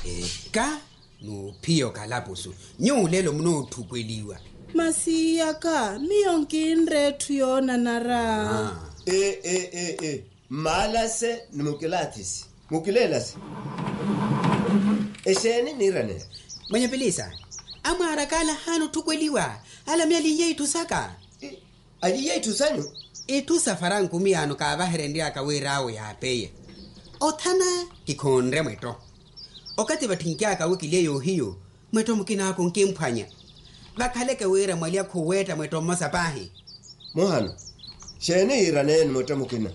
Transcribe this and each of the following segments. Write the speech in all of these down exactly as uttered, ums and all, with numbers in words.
Eka, n'uphiya okalapusu. Nyuwo lelo munootthupweliwa. Masi iyaka miyo nkinre etthu yoonanara. Ee, mmalase ni mukilathisi, mukileelase. Exeeni niiraneya? Mwenye pilisa, amwaaraka ala ahaana otthupweliwa. Ala miyo aliiye itthu saka. Aliiye itthu sanyu? Itthu sa faranku miyaano kaavaherenry'aka wira awo yaapeiye. Othana kikhonre mwetto. Okathi vatthinky'aka wi kiliye yoohiyu, mwetto mukin'aka onkimphwanya. Vakhaleke wira mwalya khuweetta mwetto mmosa paahi. Muhano, xeeni yiiraneeni mwetto mukina?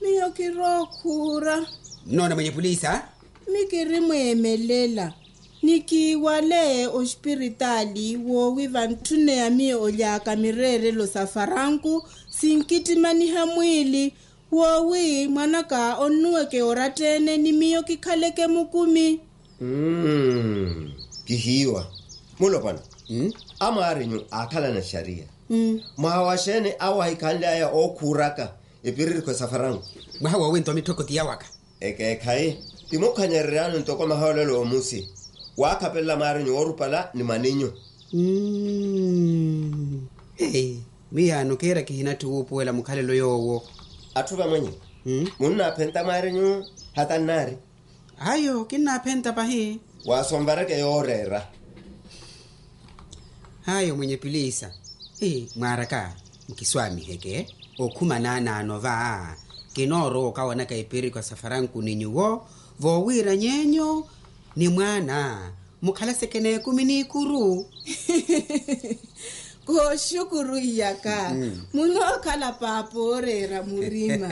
Miyo kirookhuura. Nnoona mwenye puliisa. Mikirimweemelela. Nikiiwale ospiritaali woowi vantthuneya miyo olyaaka mireerelo sa faranku, sinkittimaniha mwiili. Woowi mwan'aka onnuweke oratta-ene ni miyo kikhaleke mukumi. Kihiiwa. Mulopwana. Amwaarinyu aakhalana xariya. Mwaha wa xeeni awo ahikhanly'aya ookhuuraka epiririkho sa faranku? Mwaha woowinto mitthoko ti yawaka. Ekeekhayi, ti mukhanyereryaani ntoko mahoolelo omusi. Waakhapelela mwaarinyu woorupala ni mwaninyu. Miyaano kiira kihinatthi wuupuwela mukhalelo yoowo. Atthu vamwenye, munnaaphenta mwaarinyu? Hata nnaari. Ayo kinnaaphenta pahi. Waasonvareke yooreera. Ayo mwenye piliisa. Mwaaraka, mukiswaamiheke okhuma naanaano va. Kinoorowa okawanaka ipirikwa sa faranku ni nyuwo, voowiirany'enyu ni mwaana mukhalaseke n'ekumi n'ikuru. Kooxukuru iyaka. Munookhala paapa ooreera murima.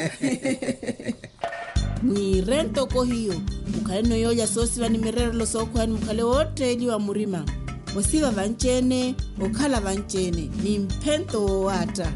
Mwiire ntoko hiyo, mukhaleno yoolya soosiva ni mireerelo sookhweya ni mukhale wootteeliwa murima. Osiva vanci-ene, okhala vanci-ene ni mphento woowaatta.